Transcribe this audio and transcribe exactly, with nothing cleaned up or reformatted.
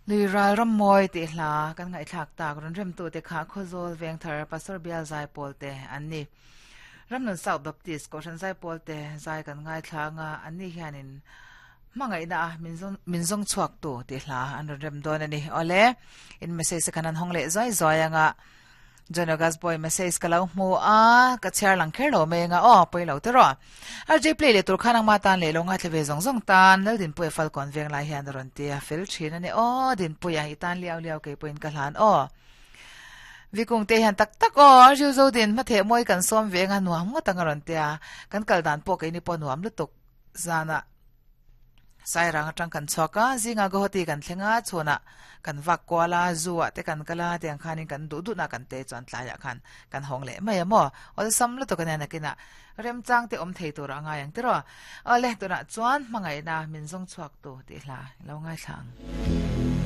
Luiral rammawi tih hla kan ngaihthlak tak rawn remtu te kha Khawzawl Vengthar Pastor Bial Zaipawl te an ni. Ramnun South Baptist Kohhran Zaipawl te zai kan ngaithla anga an ni hianin hmangaihna a min zawng chhuak tu tih hla an rawn rem dawn a ni. Awle, in message khan an hawng leh zuai zuai anga John August boy message ka lo hmu a ka chhiar lang kher lo mai anga aw pawi lo te rawh. R J play leh tur khan angma tan leh lo ngaithla ve zawng zawng tan lal Dinpuia Falkawn veng lai hian a rawn ti a fel thin a ni aw Dinpuia i tan liau liau kei pawhin ka hlan aw. Vikung te hian tak tak aw R J Zodin hmatheh mawi kan sawm ve anga nuam ngawt ang a rawn ti a kan kal dan pawh keini pawh nuam lutuk zana Sairang atang kan chhuak a, zinga Guwahati kan thleng a, chhunah kan vak kual a, zoo ah te kan kal a, tiang khanin kan duh duhna kan te chuan tlaiah khan kan hawng leh mai a maw? Awlsam lutuk a nia nakinah remchang te awm thei tur a ngai ang tiraw? Awle, tunah chuan hmangaihna min zawng chhuak tu tih hla i lo ngaithla ang.